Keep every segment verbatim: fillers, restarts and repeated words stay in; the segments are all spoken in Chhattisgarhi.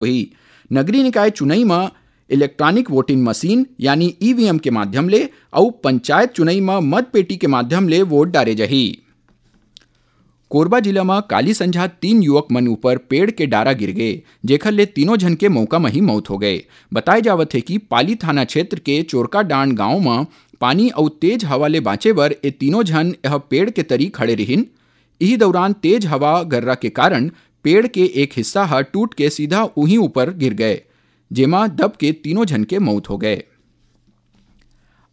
होही। नगरीय निकाय चुनई म इलेक्ट्रॉनिक वोटिंग मशीन यानी ईवीएम के माध्यम ले अउ पंचायत चुनई म मतपेटी के माध्यम ले वोट डारे जाही। कोरबा जिला म काली संझा तीन युवक मन ऊपर पेड़ के डारा गिर गे, जेखर ले तीनों झन के मौका म ही मौत हो गए। बताए जावत हे कि पाली थाना क्षेत्र के चोरकाडांड गांव म पानी अउ तेज हवा ले बांचे बर ए तीनों झन यह पेड़ के तरी खड़े रिहिन। इही दौरान तेज हवा गर्रा के कारण पेड़ के एक हिस्सा ह टूट के सीधा उही ऊपर गिर गए, जेमा दब के तीनों झन के मौत हो गए।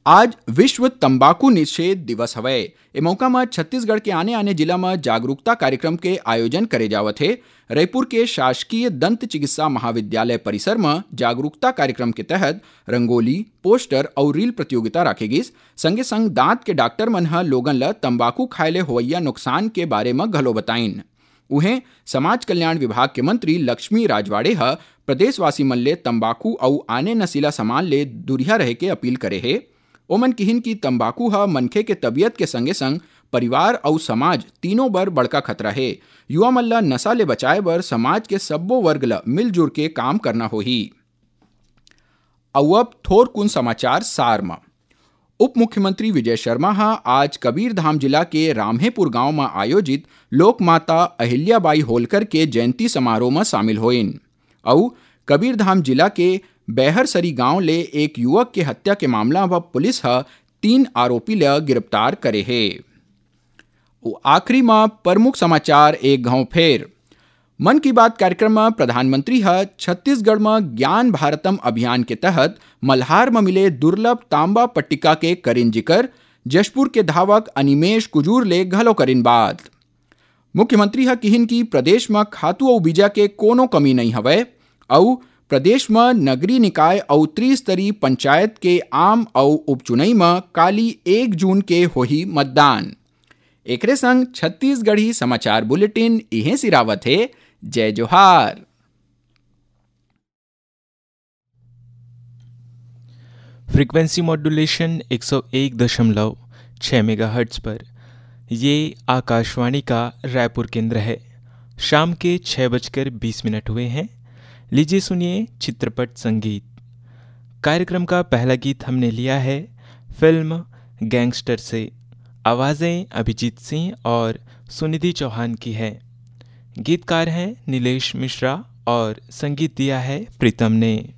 आज विश्व तंबाकू निषेध दिवस हवय। ए मौका म छत्तीसगढ़ के आने-आने जिला म जागरूकता कार्यक्रम के आयोजन करे जावत हे। रईपुर के शासकीय दंत चिकित्सा महाविद्यालय परिसर म जागरूकता कार्यक्रम के तहत रंगोली, पोस्टर अउ रील प्रतियोगिता राखे गिस। संगे संग दांत के डॉक्टर मन ह लोगन ल तंबाकू खाए ले होवइया नुकसान के बारे म घलो बताइन। उहें, समाज कल्याण विभाग के मंत्री लक्ष्मी राजवाड़े ह प्रदेशवासी मन ले तंबाकू अउ आने नशीला सामान ले दुरिहा रहे के अपील करे हे। ओमन किहिन कि तंबाकू ह मनखे के तबीयत के संगे संग परिवार अउ समाज तीनों बर बड़का खतरा हे। युवा मन ल नशा ले बचाए बर समाज के सब्बो वर्ग ल मिलजुल के काम करना होही। अउ अब थोरकुन समाचार सार म। उप मुख्यमंत्री विजय शर्मा ह आज कबीरधाम जिला के राम्हेपुर गांव म आयोजित लोकमाता अहिल्याबाई होलकर के जयंती समारोह म शामिल होइन अउ कबीरधाम जिला के बैहरसरी गांव ले एक युवक के हत्या के मामला म पुलिस ह तीन आरोपी ल गिरफ्तार करे हे। अउ आखिरी म प्रमुख समाचार एक घांव फेर। मन की बात कार्यक्रम म प्रधानमंत्री ह छत्तीसगढ़ म ज्ञान भारतम अभियान के तहत मल्हार म मिले दुर्लभ तांबा पट्टिका के करिन जिकर, जशपुर के धावक अनिमेश कुजूर ले घलो करिन बात। मुख्यमंत्री ह किहिन कि प्रदेश म खातू अउ बीजा के कोनो कमी नइ हवय अउ प्रदेश म नगरीय निकाय अउ त्रिस्तरीय पंचायत के आम अउ उपचुनई म काली एक जून के होही मतदान। एकरे संग छत्तीसगढ़ी समाचार बुलेटिन इहें सिरावत हे। जय जोहार। फ्रीक्वेंसी मॉड्यूलेशन एक सौ एक दशमलव छः मेगाहर्ट्ज़ पर। ये आकाशवाणी का रायपुर केंद्र है। शाम के छः बजकर बीस मिनट हुए हैं। लीजिए सुनिए चित्रपट संगीत। कार्यक्रम का पहला गीत हमने लिया है फिल्म गैंगस्टर से। आवाज़ें अभिजीत सिंह और सुनिधि चौहान की है। गीतकार हैं नीलेश मिश्रा और संगीत दिया है प्रीतम ने।